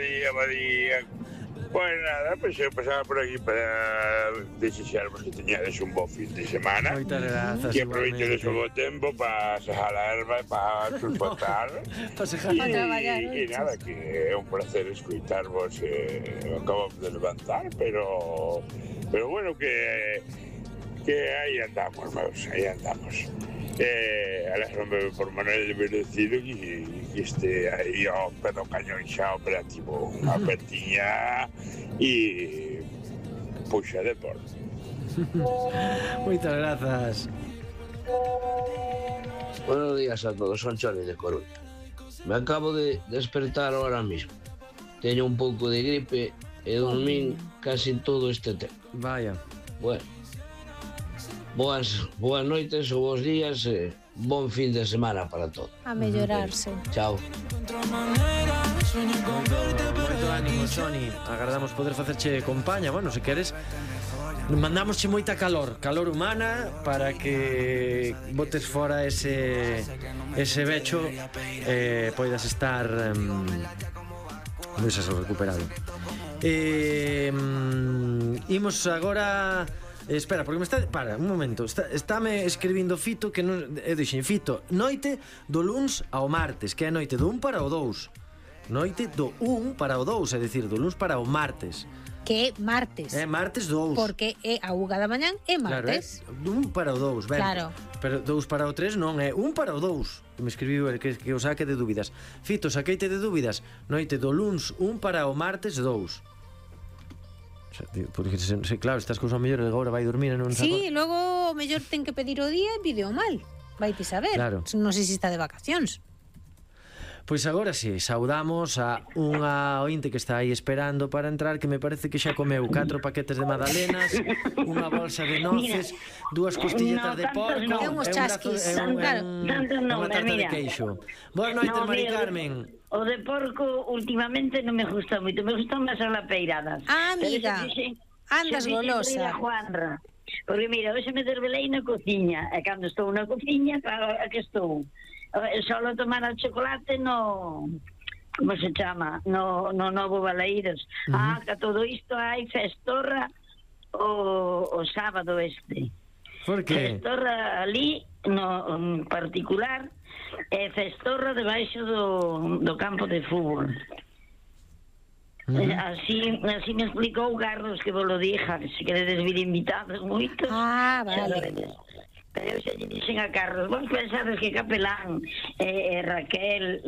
día. Pues nada, pues eu pasaba por aquí para desexarvos que teñades un bo fin de semana. Moitas grazas, que aproveitedes o bo tempo para sejar a erva e para chupotar. Para sejar. E nada, que é un placer escuitarvos. Acabo de levantar, pero bueno, que aí andamos, meus, aí andamos. Alégrome por Manuel Merecido que este aí ao pé do cañón xa operativo, unha pertiña e puxa de por. Moitas grazas. Buenos días a todos, son Choni de Coruña. Me acabo de despertar ahora mismo. Teño un pouco de gripe e dormín casi todo este tempo. Vaya. Bueno, boas noites ou bons días e bon fin de semana para todos. A mellorarse. Chao. Moito ánimo, Sony. Agardamos poder facerche compaña. Bueno, se queres, mandamosche moita calor humana para que botes fora ese becho poidas estar recuperado. Imos agora. Espera, porque me está... Para, un momento. Estáme escribindo Fito que non... Eu dixen, Fito, noite do luns ao martes, que é noite do 1 para o 2. Noite do 1 para o 2, é dicir, do luns para o martes. Que é martes. É martes 2. Porque é a 1 da mañán é martes. Claro, é do 1 para o 2, ben. Claro. Pero 2 para o 3 non, é 1 para o 2. Me escribiu el que o saque de dúbidas. Fito, saqueite de dúbidas. Noite do luns 1 para o martes 2. Porque, claro, estas cousas mellor agora vai dormir e non sí, logo o mellor ten que pedir o día e pide o mal. Vaite saber, claro. Non sei se está de vacacións. Pois agora si, saudamos a unha ointe que está aí esperando para entrar, que me parece que xa comeu 4 paquetes de magdalenas, unha bolsa de noces, 2 costilletas de porco e uns chasquis, unha tarta de queixo. Boa noite, Mari Carmen. O de porco últimamente non me gusta moito, me gustan máis as lapeiradas. Ah, amiga, andas golosa. Porque mira, hoxe me desvelei na cociña, e cando estou na cociña, a que estou? Solo tomar o chocolate no... Como se chama? No Novo Balaídos. Que todo isto hai festorra o sábado este. Por que? Festorra ali, no particular, e festorra debaixo do campo de fútbol. Así me explicou Carlos, que vos lo dija, que se queredes vir invitados moitos. Vale. Pero eu xa lle dixen a Carlos, vos pensades que Capelán Raquel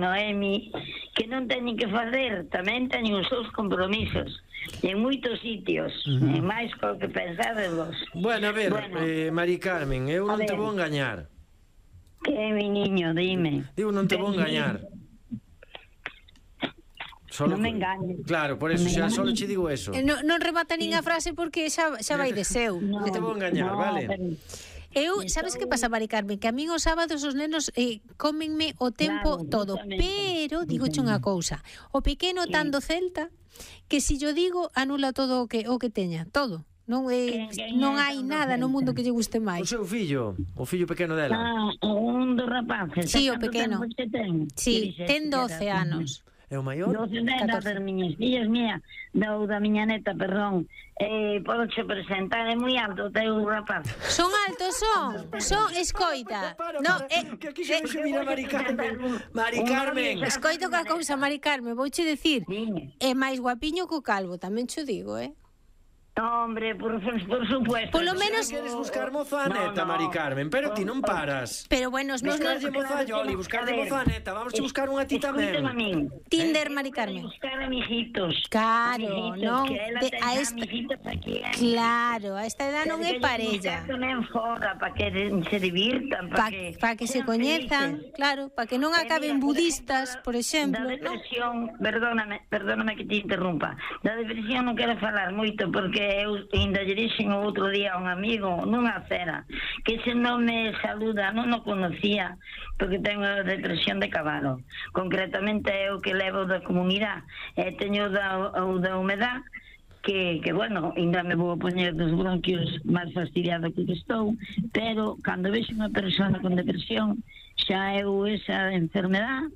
Noemi, que non teñen que fazer, tamén teñen os seus compromisos en moitos sitios, en máis co que pensades vos. Bueno, a ver, Mari Carmen, eu non te vou engañar. Que, mi niño, dime. Digo, non te vou engañar. Non me engañes. Claro, por eso, xa solo che digo eso. Non remata nin a frase porque xa vai de seu. Non te vou engañar, vale? Eu, sabes que pasa, Mari Carmen? Que a min os sábados os nenos comenme o tempo todo. Pero, digoche unha cousa, o pequeno tan do Celta, que si yo digo, anula todo o que teña, todo. Non hai nada no mundo que lle guste máis. O seu fillo, o fillo pequeno dela. Un dos rapaces. Sí, o pequeno. Sí, ten 12 anos. É o maior? 12 nenas das miñas fillas, da miña neta, perdón. Podo che presentar, é moi alto o teu rapaz. Son altos, son escoita. Que aquí se mira Mari Carmen. Mari Carmen. Escoito que a cousa, Mari Carmen, vouche dicir, é máis guapiño que o calvo, tamén cho digo, Hombre, por supuesto. Por lo menos queres buscar moza neta, Mari Carmen, pero ti non paras. Pero bueno, buscarlle moza Yoli, buscarlle moza neta, vamos a buscar unha ti tamén. Tinder, Mari Carmen. Buscar amiguitos. Claro, non. Claro, a esta edad non é parella. Tamén fora para que se divirtan, para que se coñezan, claro, para que non acaben budistas, por exemplo. Da depresión, perdóname que te interrumpa. Da depresión non quero falar moito porque eu ainda lle dixen o outro día a un amigo nunha cena que se non me saluda non o conocía porque tengo depresión de cabalo. Concretamente é o que levo da comunidade e teño da humedad que bueno, ainda me vou a poñer dos bronquios máis fastidiado que estou, pero cando vexo unha persona con depresión xa eu esa enfermedade